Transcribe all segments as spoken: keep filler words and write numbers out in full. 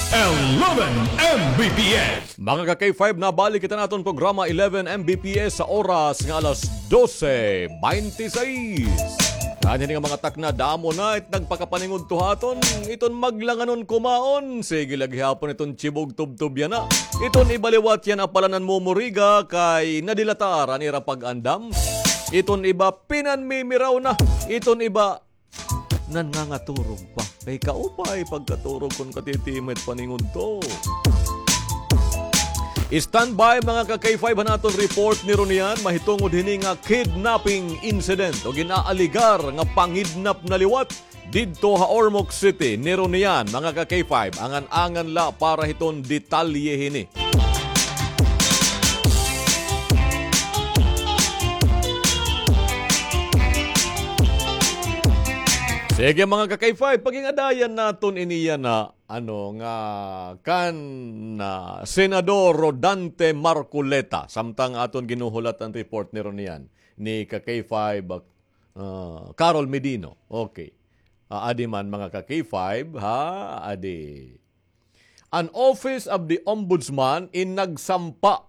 Eleven M B P S. Mga ka-K five, nabalik kita naton programa eleven M B P S sa oras nga alas dose bente seis. Ngan hini nga mga takna, damo na it nagpakapaningudto ha aton, iton maglanganon kumaon. Sige la gihapon iton tibog tubtob yana. Iton iba liwat yana pala nanmumuriga kay nadilatar an ira pag-andam. Iton iba pinanmimiraw na. Iton iba nangangaturog pa. Kay kaupay pagkaturog kon katitimit paningudto. Standby, mga ka-K five, han aton report ni Ronian mahitungod hini nga kidnapping incident o gin-aaligar nga pangidnap na liwat didto ha Ormoc City ni Ronian, mga ka-K five. Angan-angan la para hiton detalye hini. Sige, mga ka-K five, pagingadayan naton ini yana, ano, nga kan, ah, Senador Rodante Marcoleta, samtang aton ginuhulat an report ni Ronian, ni ka-K five, ah, Carol Medino. Okay. Ah, adi man, mga ka-K five, ha? Adi. An Office of the Ombudsman in nagsampa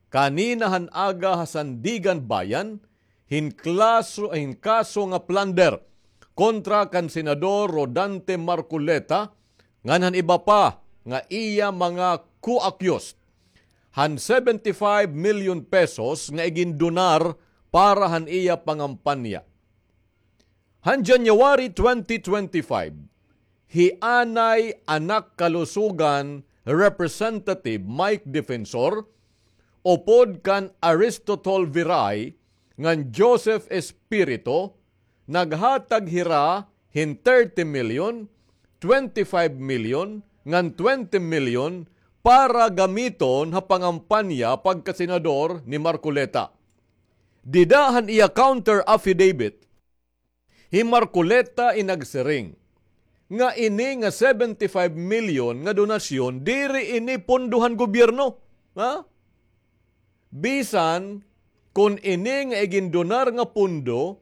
kanina han aga ha Sandiganbayan hin klaso, hin kaso nga plunder kontra kan Senador Rodante Marcoleta ngan han iba pa nga iya mga co-accused han seventy-five million pesos nga igindonar para han iya pangampanya. Han January twenty twenty-five, hi Anay Anak Kalusugan Representative Mike Defensor, upod kan Aristotol Viray ngan Joseph Espirito, naghatag hira hin thirty million, twenty-five million, ngan twenty million para gamiton ha pangampanya pagkasenador ni Marcoleta. Dida han iya counter affidavit, hi Marcoleta in nagsiring nga ini nga seventy-five million nga donasyon, diri ini pondo han gobyerno. Ha? Bisan kon ini nga igindonar nga pondo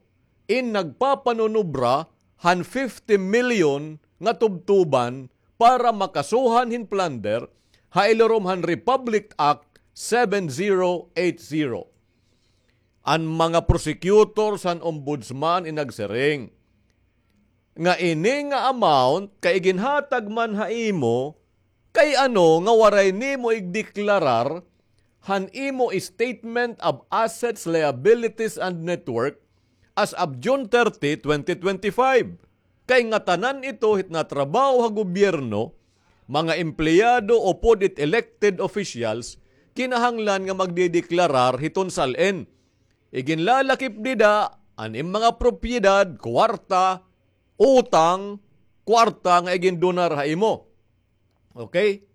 in nagpapanunubra han fifty million nga tubtuban para makasuhan hin plunder ha ilarom han Republic Act seven zero eight zero. An mga prosecutors han ombudsman in nagsiring nga ini nga amount kay iginhatag man ha imo, kay ano nga waray nimo igdeklarar han imo statement of assets, liabilities, and net worth as of June thirty, twenty twenty-five? Kay ngatanan ito hit natrabaho ha gobyerno, mga empleyado upod it elected officials, kinahanglan nga magdedeklarar hiton sal-in. Iginlalakip dida an im mga propiedad, kwarta, utang, kwarta nga igindonar ha imo. Okay?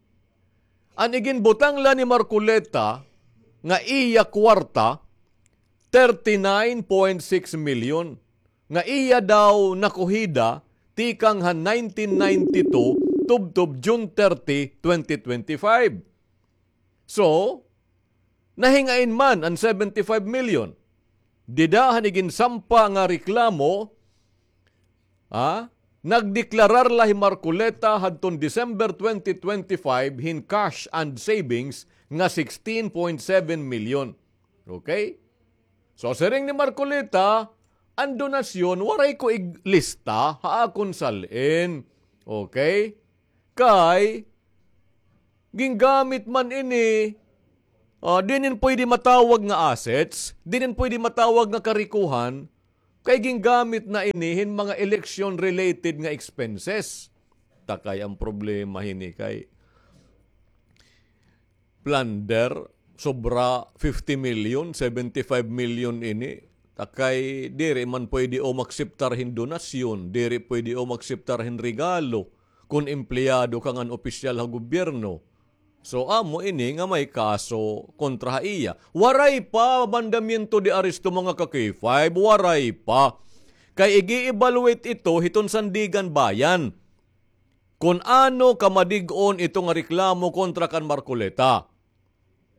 An iginbutang la ni Marcoleta nga iya kwarta, thirty-nine point six million, nga iya daw nakuhida tikang han nineteen ninety-two tubtob June thirty, twenty twenty-five. So, nahingain man an seventy-five million? Dida han iginsampa nga reklamo, ha? Nagdeklarar la hi Marcoleta hadton December twenty twenty-five hin cash and savings nga sixteen point seven million. Okay? So, siring ni Marcoleta, an donasyon, waray ko iglista ha akon sal-in. Okay? Kay, gingamit man ini, ah, dinin pwede matawag nga assets, dinin pwede matawag nga karikohan, kay gingamit na ini hin mga election-related nga expenses. Takay an problema hini kay plunder, sobra fifty million, seventy-five million ini. Takay diri man pwede o makseptar hin donasyon, diri pwede o makseptar hin regalo kon empleyado ka ngan opisyal ha gobyerno. So, amo ini nga may kaso kontra ha iya. Waray pa mandamiento de arresto, mga ka-K five, waray pa. Kay igi-evaluate ito hiton Sandiganbayan kon ano kamadig-on ito nga reklamo kontra kan Marcoleta.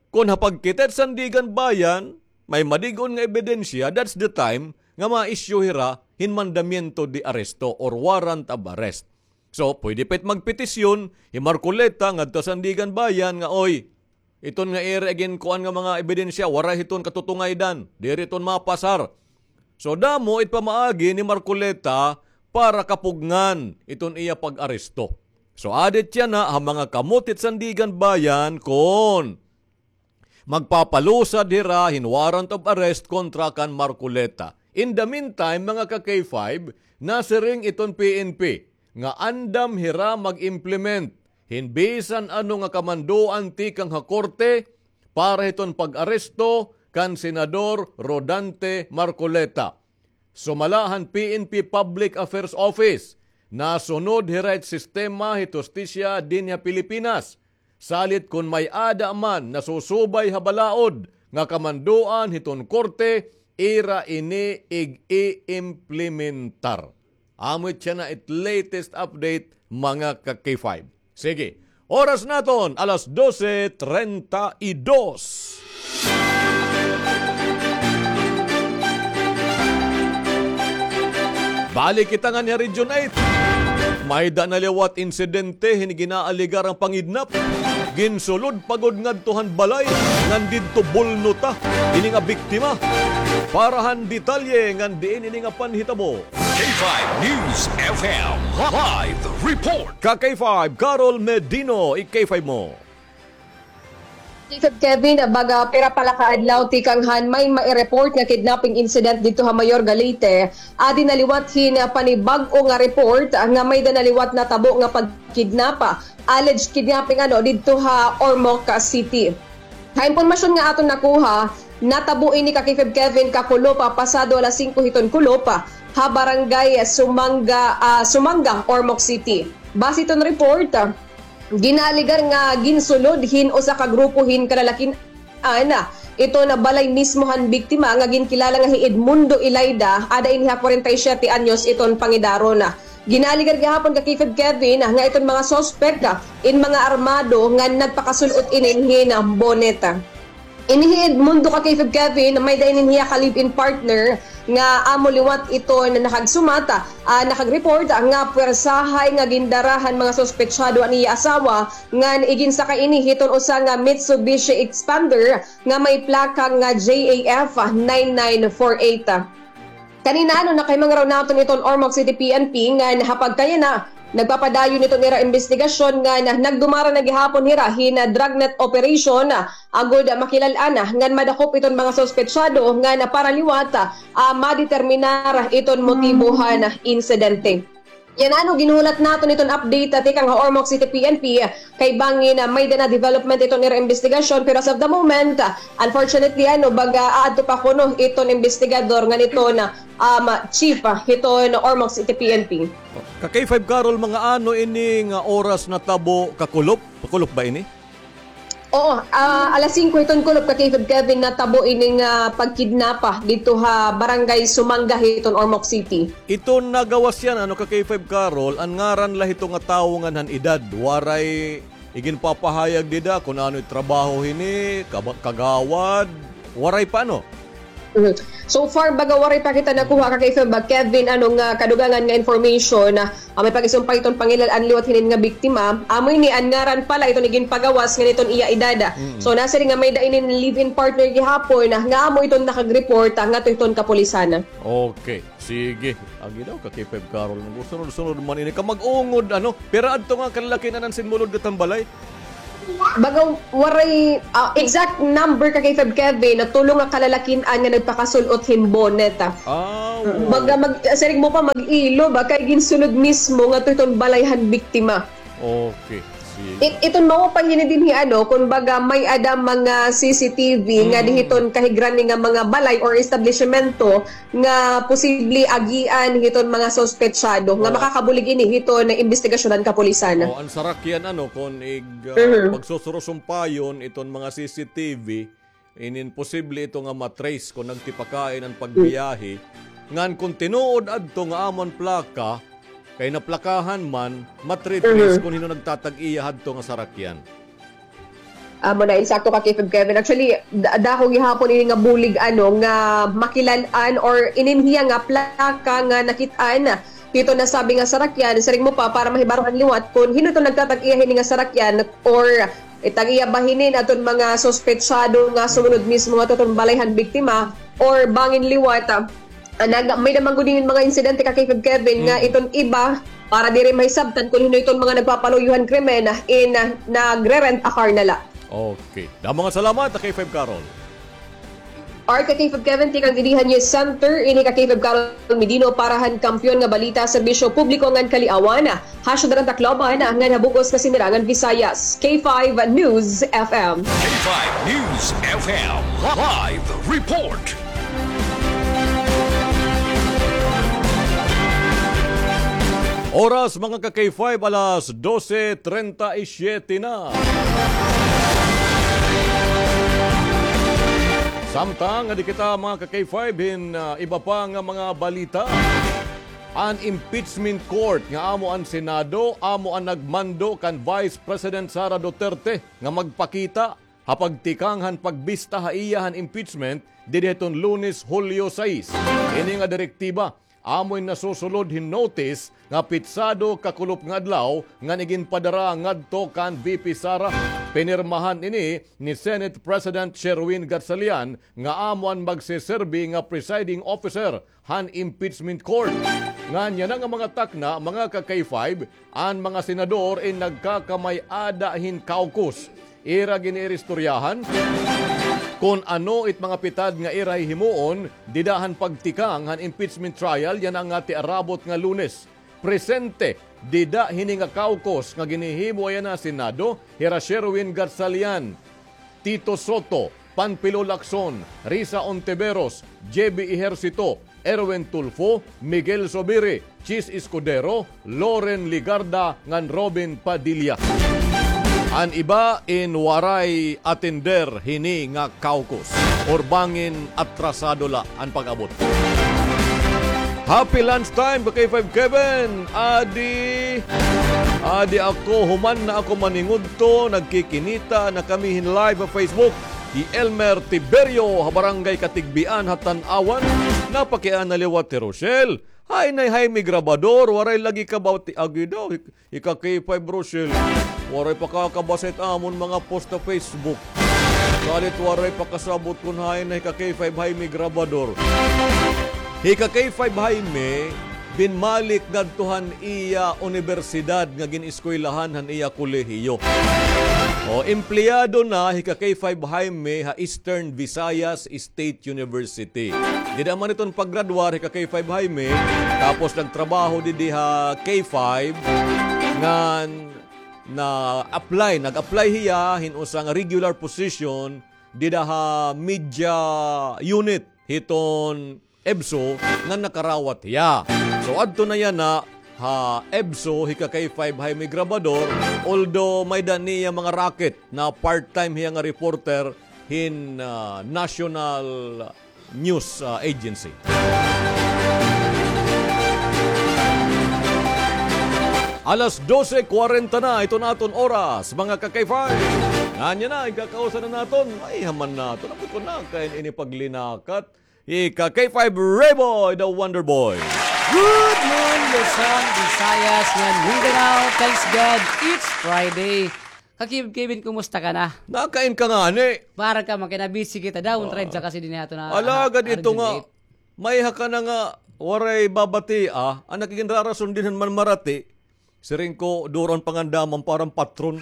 Kon ha pagkita it Sandiganbayan, may madig-on nga ebidensya, that's the time nga ma-issue hira hin mandamiento de arresto or warrant of arrest. So, pwede pa it magpetisyon hi Marcoleta ngadto ha Sandiganbayan nga, oy, iton nga ira iginkuan nga mga ebidensya, waray hiton katutungaydan, diri iton mapasar. So, damo it pamaagi ni Marcoleta para kapugngan iton iya pag-aresto. So, added yana ha mga kamot hit Sandiganbayan kon magpapalusad hira hin warrant of arrest kontra kan Marcoleta. In the meantime, mga ka-K five, nasiring iton P N P nga andam hira mag-implement hin bisan ano nga kamandoan tikang ha korte para hiton pag-aresto kan Senador Rodante Marcoleta. Sumala han P N P Public Affairs Office, nasunod hira it sistema hit hustisya dinhi ha Pilipinas. Salit kon may-ada man nasusubay ha balaod nga kamandoan hiton korte, ira ini ig-iimplementar. Amo it yana it latest update, mga ka-K five. Sige, oras naton, alas dose treinta y dos. Balik kita nganhi ha Region eight. May-ada na liwat insidente hin ginaaligar nga pangidnap. Ginsulod pa gud ngadto han balay ngan didto bulno ta ini nga biktima. Para han detalye ngan diin ini nga panhitabo. K five News F M live report. Ka K five, Carol Medino, i-K five mo. K five Kevin, baga pira pa la ka adlaw tikang han may mai-report nga kidnapping incident didto ha Mayor ga Leyte, adi na liwat hin panibag-o nga report nga may-ada na liwat natabo nga pagkidnap, alleged kidnapping ano, didto ha Ormoc City. Ha impormasyon nga aton nakuha, natabo ini ka K five Kevin kakulop, pasado alas singko hiton kulop, ha barangay Sumanga, ah, Sumanga, Ormoc City. Base hiton report, ginaaligar nga ginsulod hin usa ka grupo hin kalalakin-an iton balay mismo han biktima nga ginkilala nga hi Edmundo Ilayda, ada ini ha kwarenta y siyete anyos iton pangidaron. Ginaaligar gihapon ka K five Kevin nga iton mga suspek in mga armado nga nagpakasul-ot inin hin bonnet. Ini hi Edmundo ka K five Kevin, may-ada inin hiya ka live-in partner nga amo liwat iton nakagsumat, ah, nakag-report nga pwersahay nga gindara han mga suspetsado an iya asawa ngan iginsakay ini hiton usa nga Mitsubishi Xpander nga may plaka nga J A F nine nine four eight. Kanina, ano, nakahimangaraw naton iton Ormoc City P N P ngan ha pagkayana, nagpapadayon iton ira imbestigasyon ngan nagdumara na gihapon hira hin dragnet operation, agod makilal-an ngan madakop iton mga suspetsado ngan para liwat, ah, madeterminar iton motibo han insidente. Yana, ano, ginhulat naton iton update, ah, tikang ha Ormoc City P N P, ah, kay bangin, ah, may-ada na development iton ira imbestigasyon, pero as of the moment, ah, unfortunately, ano, baga aadto pa kuno iton imbestigador ngan iton, ah, um, chief, ah, hiton Ormoc City P N P. Ka K five Carol, mga ano ini nga oras natabo, kakulop? Kakulop ba ini? Oo, ah, alas singko hiton kulop ka K five Kevin natabo ini nga pagkidnapa didto ha Barangay Sumanga hiton Ormoc City. Iton nagawas yana, ano, ka K five Carol, an ngaran la hito nga tawo ngan han edad, waray iginpapahayag dida kon ano it trabaho hini, kaba-, kagawad, waray pa, ano? Mhm. So far, baga waray pa kita nakuha ka K five Kevin, ano, nga kadugangan nga information, ah, may pag-isumpay iton pangilal-an liwat hinin nga biktima. Amo ini an ngaran pala iton iginpagawas ngan iton iya edad. Mm. So, nasiring nga may-ada inin live-in partner gihapon, ah, nga amo iton nakag-report, ah, ngadto hiton kapulisan. Okay. Sige. Agi daw ka K five Carol. Nagsunod-sunod man ini. Kamag-ungod, ano? Pira adto nga kalalakin-an an sinmulod ngadto han balay? Baga waray, ah, exact number ka K five Kevin, na tulo nga kalalakin-an nga nagpakasul-ot hin bonnet, ah. Ah, oo. Baga mag-, siring mo pa mag-ilo ba kay ginsulod mismo ngadto hiton balay han biktima. Okay, sige. It-, iton maupay hini dinhi, ano, kumbaga may-ada mga C C T V nga dinhi hiton kahigrani nga mga balay or establisimento nga posible agian hiton mga suspetsado nga makakabulig ini hiton imbestigasyon han kapulisan. O, an sarakyan, ano, kon ig, ah, pagsusurusumpayon iton mga C C T V, inin posible ito nga ma-trace kon nagtipakain an pagbiyahe. Ngan kon tinuod adto nga amo an plaka, kay naplakahan man, ma-trace kon hin-o nagtatag-iya hadto nga sarakyan. Amo na, insakto ka, Kevin. Actually, da-, dako gihapon ini nga bulig, ano, nga makilal-an or inin hiya nga plaka nga nakit-an iton nasabi nga sarakyan, siring mo pa, para mahibaro han liwat kon hin-o iton nagtatag-iya hini nga sarakyan or it-an iya ba hinin aton mga suspetsado nga sumunod mismo ngadto hiton balay han biktima or bangin liwat, ah, ah, nag-, may-ada man gud hinin mga insidente ka K five Kevin nga iton iba para diri mahisabtan kon hin-o iton mga nagpapaluyo han krimen, ah, in, ah, nagre-rent a car na la. Okay. Damo nga salamat, ka K five Carol. Art ka K five Kevin, tikang dinhi han News Center, ini ka K five Carol Medino para han Kampiyon nga Balita, Serbisyo Publiko ngan Kaliawan, ha Syudad han Tacloban, ngan ha bug-os nga Sinirangan Visayas. K five News F M. K five News F M live report. Oras, mga ka K five, alas dose treinta y siete na. Samtang adi kita, mga ka K five, hin, ah, iba pa nga mga balita. An impeachment court nga amo an Senado, amo an nagmando kan Vice President Sara Duterte nga magpakita ha pagtikang han pagbista ha iya han impeachment didi hiton Lunes, Hulyo sais. Ini nga direktiba amo in nasusulod hin notice nga pitsado kakulop nga adlaw ngan iginpadara ngadto kan V P Sara. Pinirmahan ini ni Senate President Sherwin Gatchalian nga amo an magseserbi nga presiding officer han impeachment court. Ngan yana nga mga takna, mga ka K five, an mga senador in nagkakamay-ada hin caucus. Ira gin-iiristoryahan kon ano it mga pitad nga ira hihimuon dida han pagtikang han impeachment trial yana nga tiarabot nga Lunes. Presente dida hini nga caucus nga ginhihimo yana ha Senado, hira Sherwin Gatchalian, Tito Soto, Panfilo Lacson, Risa Ontiveros, J B Ejercito, Erwin Tulfo, Miguel Zubiri, Chiz Escudero, Loren Legarda, ngan Robin Padilla. An iba in waray atender hini nga caucus or bangin atrasado la an pag-abot. Happy lunchtime, ka K five Kevin. Adi, adi ako, human na ako maningudto, nagkikinita na kami hin live ha Facebook. Hi Elmer Tiberio ha Barangay Catigbian ha Tanauan, napakiana liwat hi Rochelle. Hain na hi Jaime Grabador, waray lagi kabati, agi daw, hi, hi ka K five Rochelle. Waray pa kakabasa it amon mga post ha Facebook. Salit waray pa kasabot kon hain na hi ka K five Jaime Grabador. Hi ka K five Jaime, binmalik ngadto han iya unibersidad nga gin-eskwelahan han iya kolehiyo. O, empleyado na hi ka K five Jaime ha Eastern Visayas State University. Dida man iton paggraduar hi ka K five Jaime, tapos nagtrabaho didi ha K five, ngan na-apply, nag-apply hiya hin usa nga regular position dida ha media unit hiton EVSU nga nakarawat hiya. So, adto na yana ha EVSU, hi ka K five Jaime Grabador, although may-ada niya mga racket na part-time hiya nga reporter hin, ah, National News, ah, Agency. Alas dose kwarenta na iton aton oras, mga ka-K five. Ngan yana, ikakausa na naton, ay, haman naton. Ako ko na, kay ini paglinakat. Ika K five Rayboy, the Wonder Boy. Good morning, Luzon, Visayas, ngan Mindanao. Thanks God, it's Friday. Ka Kevin, kumusta ka na? Nakain ka ngani. Para ka, makinabisi kita daw. Try sa kasi din nato na. Ala, ah, gad ito nga. May haka na nga, waray babati, ah. An nakikinrarason din man marati. Siring ko, duron pangandaman parang patron.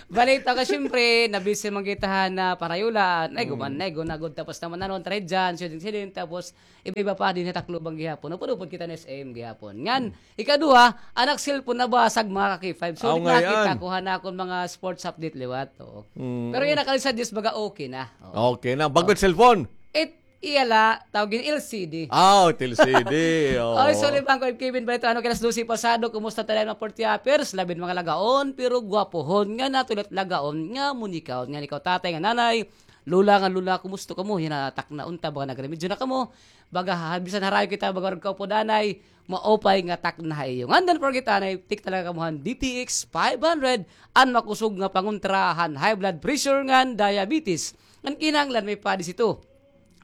Balita ka, siyempre, nabisi man kita han, ah, parayulan. Ay, guman, ay, gunagod. Tapos naman, ano, try dyan, siding-siding. Tapos, iba-iba pa din ha Tacloban gihapon. Upod-upod kita na S M gihapon. Ngan, ikaduha, anak cellphone nabasag, mga ka-K five. So, nakita ko han akon mga sports update liwat. Oo. Pero yana, kalisad Diyos, baga okay na. Oo. Okay na. Bago cellphone? It, Iya la, tawag yun, L C D. Ah, L C D, oo. Oy, sorry, Bangko, Kevin, balita, ano, kay alas dose pasado, kumusta tayo, mga forty hoppers? Labi hin mga lagaon, pero gwapohon, nga natuloy lagaon, nga munikaw, nga ikaw, tatay, nga nanay, lola, nga lola, kumusta kamo? Yana, takna unta, baga nagremedyo na kamo, baga, ha, bisan harayo kita, baga, warag kaupo danay, maupay nga takna ha iyo. Ngan, don't forget, anay, take talaga kamo han D T X five hundred, an makusog nga pangontra han high blood pressure ngan diabetes. Ngan kinahanglan may padis ito.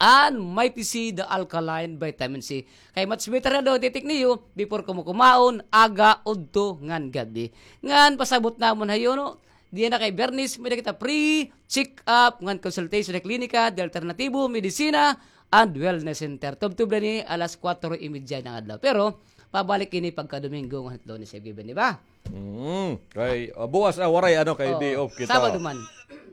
an Mighty C, the alkaline vitamin C. Kay much better na daw, titik niyo, before kamo kumaon, aga, udto, ngan gab-i. Ngan pasabot namon hayo, no? Diyan na kay Bernice, may-ada kita free check-up ngan consultation ha klinika, the Alternatibo Medicina and Wellness Center. Tubtob na ni alas kwatro y medya ng adlaw. Pero, pabalik ini pagka Domingo ngan Lunes, Sir Given, di ba? Mm. Kay, ah, buwas, ah, waray, ano, kay Oo, day off kita. Sabado man.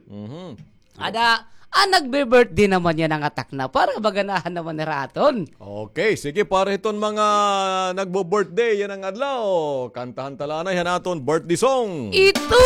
Mhm. Ada, ah, nagbe-birthday naman yana nga takna. Para maganahan naman nira aton. Okay, sige, para hiton mga nagbo-birthday yana nga adlaw, kantahan ta la anay han aton birthday song. Ito